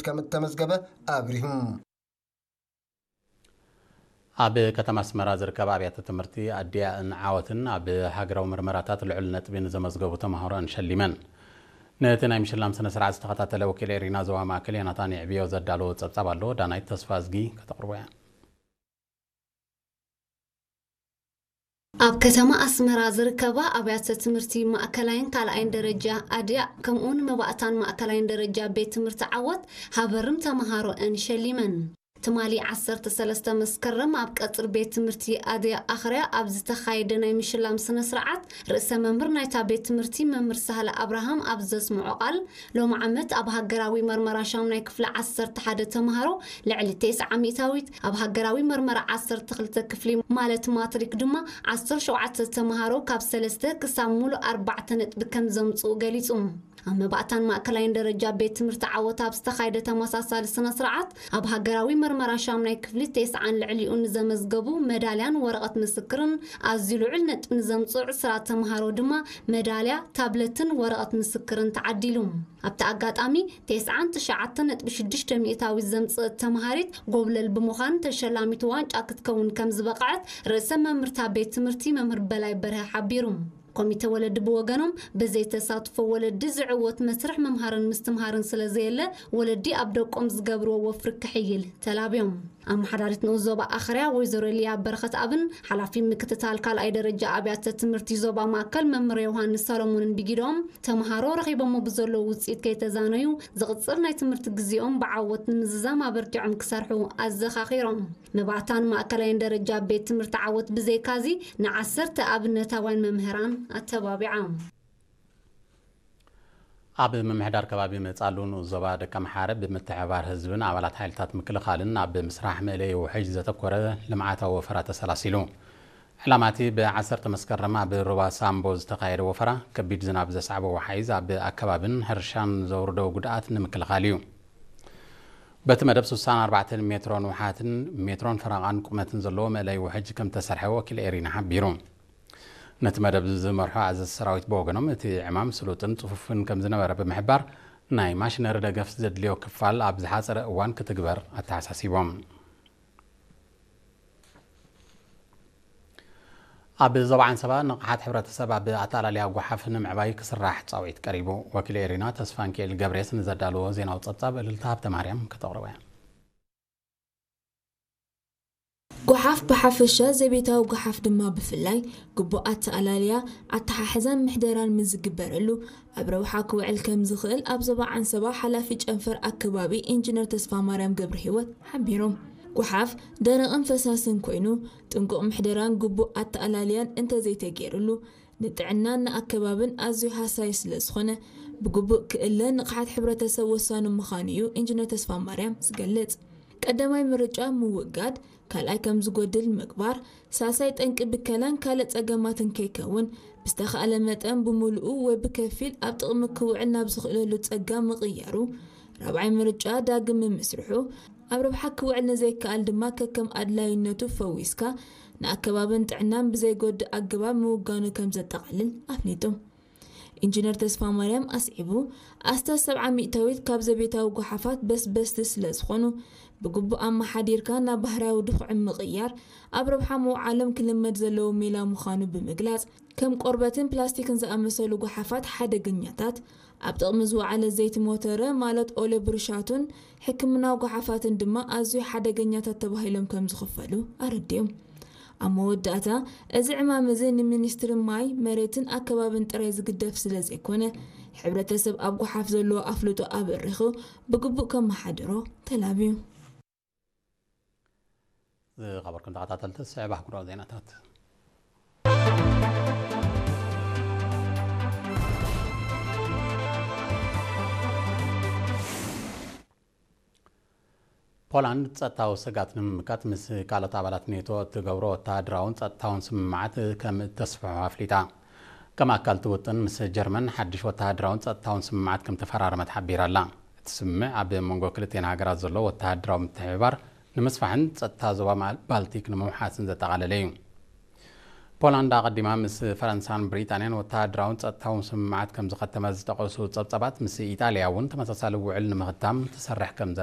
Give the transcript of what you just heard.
ከም እተመዝገበ ኣብሪሁ። ኣብ ከተማ ኣስመራ ዝርከባ ኣብያተ ትምህርቲ ኣዲኣእን ዓወትን ኣብ ሃገራዊ ምርመራታት ልዑል ነጥቢ ንዘመዝገቡ ተምሃሮኣን ሸሊመን። ነቲ ናይ ምሽላም ስነ ስርዓት ዝተኸታተለ ወኪል ኤሪና ዞባ ማእከል ዮናታን የዕብዮ ዘዳለዎ ጸብጻብ ኣሎ። ዳናይት ተስፋ እዝጊ ከተቕርቦ እያ። ኣብ ከተማ ኣስመራ ዝርከባ ኣብያተ ትምህርቲ ማእከላይን ካልኣይን ደረጃ ኣድያእ ከምኡውን መባእታን ማእከላይን ደረጃ ቤት ትምህርቲ ዓወት ሃበርም ተምሃሮኣን ሸሊመን። ትማሊ ዓሰርተ ሰለስተ መስከረም ኣብ ቀጽሪ ቤት ትምህርቲ ኣድያእ ኣኽርያ ኣብ ዝተኻየደ ናይ ምሽላም ስነ ስርዓት ርእሰ መምህር ናይታ ቤት ትምህርቲ መምህር ሳህለ ኣብርሃም ኣብ ዘስምዖ ቃል፣ ሎሚ ዓመት ኣብ ሃገራዊ መርመራ ሻሙናይ ክፍሊ ዓሰርተ ሓደ ተምሃሮ ልዕሊ ተስዓ ሚእታዊት፣ ኣብ ሃገራዊ መርመራ ዓሰርተ ክልተ ክፍሊ ማለት ማትሪክ ድማ ዓሰርተ ሸውዓተ ተምሃሮ ካብ ሰለስተ ክሳብ ሙሉእ ኣርባዕተ ነጥቢ ከም ዘምጽኡ ገሊጹ። ኣብ መባእታን ማእከላይን ደረጃ ቤት ትምህርቲ ዓወት ኣብ ዝተኻየደ ተመሳሳሊ ስነ ስርዓት፣ ኣብ ሃገራዊ መርመራ ሻሙናይ ክፍሊ ተስዓን ልዕሊኡን ንዘመዝገቡ መዳልያን ወረቐት ምስክርን ኣዝዩ ልዑል ነጥቢ ንዘምጽኡ ዕስራ ተምሃሮ ድማ መዳልያ፣ ታብለትን ወረቐት ምስክርን ተዓዲሉ። ኣብቲ ኣጋጣሚ፣ ተስዓን ትሽዓተ ነጥቢ ሽዱሽተ ሚእታዊት ዘምጽእት ተምሃሪት ጎብለል ብምዃን ተሸላሚት ዋንጫ ክትከውን ከም ዝበቕዐት ርእሰ መምህርታ ቤት ትምህርቲ መምህር በላይ በርሀ ሓቢሩ። ኮሚተ ወለዲ ብወገኖም፣ ብዘይ ተሳትፎ ወለዲ ዝዕወት መስርሕ ምምሃርን ምስትምሃርን ስለ ዘየለ፣ ወለዲ ኣብ ደቆም ዝገብርዎ ወፍሪ ክሕይል ተላብዮም። ኣመሓዳሪት ንኡስ ዞባ ኣኽርያ ወይዘሮ ሊያ በረኸት ኣብን ሓላፊ ምክትታል ካልኣይ ደረጃ ኣብያተ ትምህርቲ ዞባ ማእከል መምህር ዮሃንስ ሰሎሞንን ብጊዶም፣ ተምሃሮ ረኺቦሞ ብዘለዉ ውጽኢት ከይተዛነዩ፣ ዝቕጽል ናይ ትምህርቲ ግዜኦም ብዓወት ንምዝዛም ኣበርቲዖም ክሰርሑ ኣዘኻኺሮም። መባእታን ማእከላይን ደረጃ ቤት ትምህርቲ ዓወት ብዘይካዚ፣ ንዓሰርተ ኣብነታውያን መምህራን ኣተባቢዓ። ኣብ ምምሕዳር ከባቢ መጻሉ ንኡስ ዞባ ደቀምሓረ ብምትሕብባር ህዝብን ኣባላት ሓይልታት ምክልኻልን ኣብ ምስራሕ መእለዪ ውሕጅ ዘተኮረ ልምዓታዊ ወፈራ ተሰላሲሉ። ዕላማ እቲ ብዓሰርተ መስከረም ኣብ ሩባ ሳምቦ ዝተኻየደ ወፈራ፣ ከቢድ ዝናብ ዘስዓቦ ወሓይዝ ኣብ ኣከባብን ሕርሻን ዘውርዶ ጉድኣት ንምክልኻል እዩ። በቲ መደብ ስሳን ኣርባዕተን ሜትሮ ንውሓትን ሜትሮን ፈረቓን ቁመትን ዘለዎ መእለዪ ውሕጅ ከም ተሰርሐ ወኪል ኤሪና ሓቢሩ። ነቲ መደብ ዝመርሑ ኣዘዝቲ ሰራዊት ብወገኖም፣ እቲ ዕማም ስሉጥን ጽፉፍን ከም ዝነበረ ብምሕባር፣ ናይ ማሽነሪ ደገፍ ዘድልዮ ክፋል ኣብ ዝሓጸረ እዋን ክትግበር ኣተሓሳሲቦም። ኣብ ዞባ ዓንሰባ ንቕሓት ሕብረተሰብ ኣብ ኣተኣላልያ ጓሓፍ ንምዕባይ ክስራሕ ጻውዒት ቀሪቡ። ወኪል ኤሪና ተስፋንኪኤል ገብሬስ ንዘዳለዎ ዜናዊ ጸብጻብ እልልታ ሃብተማርያም ከተቕርቦ እያ። ጓሓፍ ብሓፈሻ፣ ዘቤታዊ ጓሓፍ ድማ ብፍላይ፣ ግቡእ ኣተኣላልያ፣ ኣተሓሕዛን ምሕደራን ምስ ዝግበረሉ፣ ኣብ ረብሓ ክውዕል ከም ዝኽእል ኣብ ዞባ ዓንሰባ ሓላፊ ጨንፈር ኣከባቢ ኢንጂነር ተስፋማርያም ገብረሂወት ሓቢሮም። ጓሓፍ ደረቕን ፈሳስን ኮይኑ፣ ጥንቁቕ ምሕደራን ግቡእ ኣተኣላልያን እንተዘይተገይሩሉ፣ ንጥዕናን ንኣከባብን ኣዝዩ ሃሳዪ ስለ ዝኾነ፣ ብግቡእ ክእለ ንቕሓት ሕብረተሰብ ወሳኒ ምዃኑ እዩ ኢንጂነር ተስፋማርያም ዝገልጽ። ቀዳማይ ምርጫ ምውጋድ፣ ካልኣይ ከም ዝጎድል ምግባር፣ ሳልሳይ ጠንቂ ብከላን ካልእ ጸገማትን ከይከውን፣ ብዝተኻእለ መጠን ብምሉኡ ወይ ብከፊል ኣብ ጥቕሚ ክውዕል ናብ ዝኽእለሉ ጸጋ ምቕያሩ፣ ራብዓይ ምርጫ ዳግም ምምስርሑ፣ ኣብ ረብሓ ክውዕል ንዘይከኣል ድማ ከከም ኣድላይነቱ ፈዊስካ ንኣከባብን ጥዕናን ብዘይጎድእ ኣገባብ ምውጋኑ ከም ዘጠቓልል ኣፍሊጡ። ኢንጂነር ተስፋማርያም ኣስዒቡ፣ ኣስታት ሰብዓ ሚእታዊት ካብ ዘቤታዊ ጓሓፋት በስበስቲ ስለ ዝኾኑ፣ ብግቡእ ኣመሓዲርካ ናብ ባህርያዊ ድኹዒ ምቕያር ኣብ ረብሓ ምውዓሎም ክልመድ ዘለዎ ሜላ ምዃኑ ብምግላጽ፣ ከም ቆርበትን ፕላስቲክን ዝኣመሰሉ ጓሓፋት ሓደገኛታት፣ ኣብ ጥቕሚ ዝወዓለ ዘይቲ ሞተረ ማለት ኦለ ብሩሻቱን ሕክምናዊ ጓሓፋትን ድማ ኣዝዩ ሓደገኛታት ተባሂሎም ከም ዝኽፈሉ ኣረዲኦም። ኣብ መወዳእታ፣ እዚ ዕማም እዚ ንሚኒስትሪ ማይ፣ መሬትን ኣከባብን ጥራይ ዝግደፍ ስለ ዘይኮነ፣ ሕብረተሰብ ኣብ ጓሓፍ ዘለዎ ኣፍልጦ ኣበሪኹ ብግቡእ ከመሓድሮ ተላብዩ። ዝኸበርኩም ተኸታተልቲ፣ ስዕብ ኣህጉራዊ ዜናታት። ፖላንድ ጸጥታዊ ስግኣት ንምምካት ምስ ካልኦት ኣባላት ኔቶ እትገብሮ ወተሃደራውን ጸጥታውን ስምምዓት ከም እተስፍሖ ኣፍሊጣ። ከም ኣካል እቲ ውጥን፣ ምስ ጀርመን ሓድሽ ወተሃደራውን ጸጥታውን ስምምዓት ከም ተፈራረመት ሓቢራ ኣላ። እቲ ስምምዕ ኣብ መንጎ ክልቲኤን ሃገራት ዘሎ ወተሃደራዊ ምትሕብባር ንምስፋሕን ጸጥታ ዞባ ማ-፣ ባልቲክ ንምውሓስን ዘጠቓለለ እዩ። ፖላንድ ኣቐዲማ ምስ ፈረንሳን ብሪጣንያን ወተሃደራውን ጸጥታውን ስምምዓት ከም ዝኸተመት ዝጠቐሱ ጸብጻባት፣ ምስ ኢጣልያ እውን ተመሳሳሊ ውዕል ንምኽታም ትሰርሕ ከም ዘላ